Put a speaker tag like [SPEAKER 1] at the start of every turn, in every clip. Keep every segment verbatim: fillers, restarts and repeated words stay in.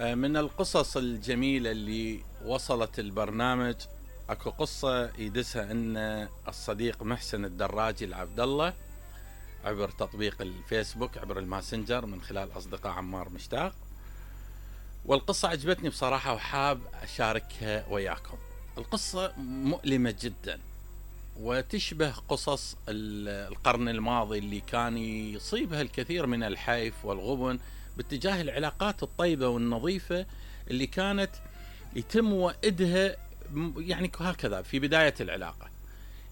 [SPEAKER 1] من القصص الجميلة اللي وصلت البرنامج، اكو قصة يدسها ان الصديق محسن الدراجي العبد الله عبر تطبيق الفيسبوك، عبر الماسنجر، من خلال اصدقاء عمار مشتاق. والقصة عجبتني بصراحة وحاب اشاركها وياكم. القصة مؤلمة جدا وتشبه قصص القرن الماضي اللي كان يصيبها الكثير من الحيف والغبن باتجاه العلاقات الطيبة والنظيفة اللي كانت يتم وئدها يعني هكذا في بداية العلاقة.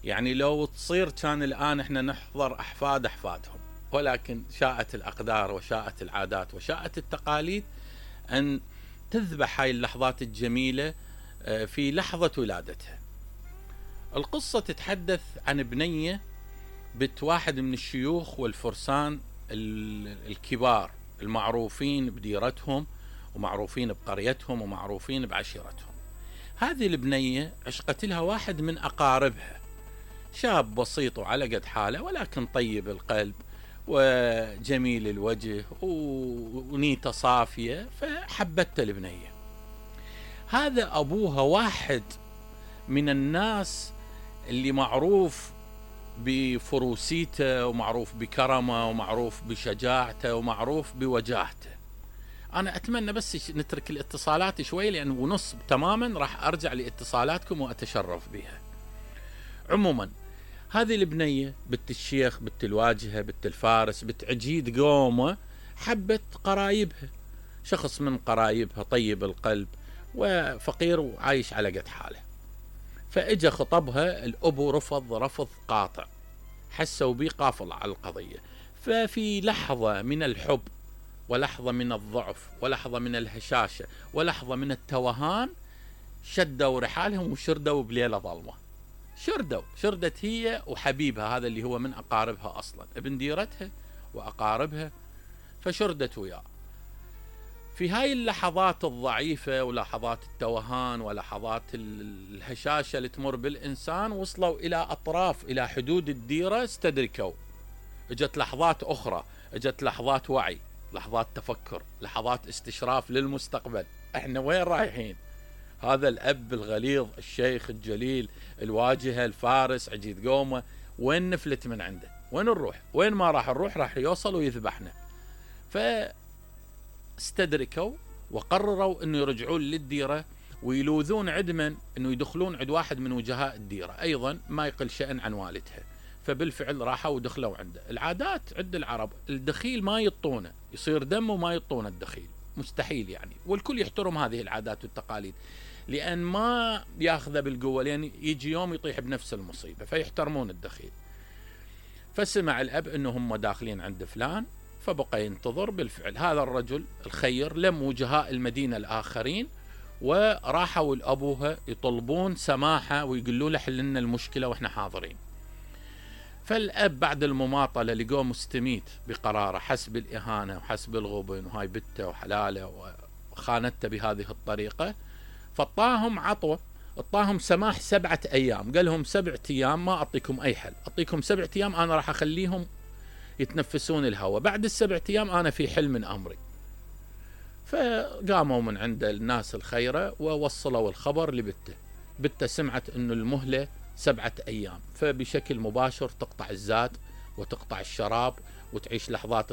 [SPEAKER 1] يعني لو تصير كان الآن احنا نحضر أحفاد أحفادهم، ولكن شاءت الأقدار وشاءت العادات وشاءت التقاليد أن تذبح هاي اللحظات الجميلة في لحظة ولادتها. القصة تتحدث عن بنية بنت واحد من الشيوخ والفرسان الكبار المعروفين بديرتهم ومعروفين بقريتهم ومعروفين بعشيرتهم. هذه البنية عشقت لها واحد من أقاربها، شاب بسيط وعلى قد حاله ولكن طيب القلب وجميل الوجه ونيته صافية، فحبته البنية. هذا أبوها واحد من الناس اللي معروف بفروسيته ومعروف بكرمه ومعروف بشجاعته ومعروف بوجاهته. أنا أتمنى بس نترك الاتصالات شوي، لأن ونص تماما راح أرجع لاتصالاتكم وأتشرف بها. عموما هذه البنية بنت الشيخ، بنت الواجهة، بنت الفارس، بنت عجيد قومه، حبت قرايبها، شخص من قرايبها طيب القلب وفقير وعايش على قد حاله. فإجا خطبها، الأبو رفض رفض قاطع، حسوا بيه قافل على القضية. ففي لحظة من الحب ولحظة من الضعف ولحظة من الهشاشة ولحظة من التوهان شدوا رحالهم وشردوا بليلة ظلمة. شردوا شردت هي وحبيبها هذا اللي هو من أقاربها أصلا، ابن ديرتها وأقاربها، فشردت وياه. في هاي اللحظات الضعيفة ولحظات التوهان ولحظات الهشاشة اللي تمر بالإنسان، وصلوا إلى أطراف إلى حدود الديرة، استدركوا. اجت لحظات أخرى، اجت لحظات وعي، لحظات تفكر، لحظات استشراف للمستقبل. احنا وين رايحين؟ هذا الأب الغليظ الشيخ الجليل الواجهة الفارس عجيد قومه، وين نفلت من عنده؟ وين نروح؟ وين ما راح نروح راح يوصل ويذبحنا. فاستدركوا وقرروا انه يرجعون للديرة ويلوذون عد من انه يدخلون عند واحد من وجهاء الديرة ايضا ما يقل شأن عن والدها. فبالفعل راحوا ودخلوا عنده. العادات عند العرب الدخيل ما يطونه، يصير دم وما يطونه الدخيل، مستحيل يعني. والكل يحترم هذه العادات والتقاليد لأن ما ياخذه بالقوة، لأن يجي يوم يطيح بنفس المصيبة، فيحترمون الدخيل. فسمع الأب أنه هم داخلين عند فلان، فبقى ينتظر. بالفعل هذا الرجل الخير لم وجهاء المدينة الآخرين وراحوا لأبوها يطلبون سماحة ويقولوا له حل لنا المشكلة وإحنا حاضرين. فالأب بعد المماطلة لقوه مستميت بقراره، حس بالإهانة وحس بالغبن وهاي بنته وحلاله وخانته بهذه الطريقة، فطاهم عطوة، اطاهم سماح سبعة أيام. قال لهم سبعة أيام ما أعطيكم أي حل، أعطيكم سبعة أيام أنا راح أخليهم يتنفسون الهواء، بعد السبعة أيام أنا في حل من أمري. فقاموا من عند الناس الخيرة ووصلوا الخبر لبته. بته سمعت أنه المهلة سبعة أيام، فبشكل مباشر تقطع الزاد وتقطع الشراب وتعيش لحظات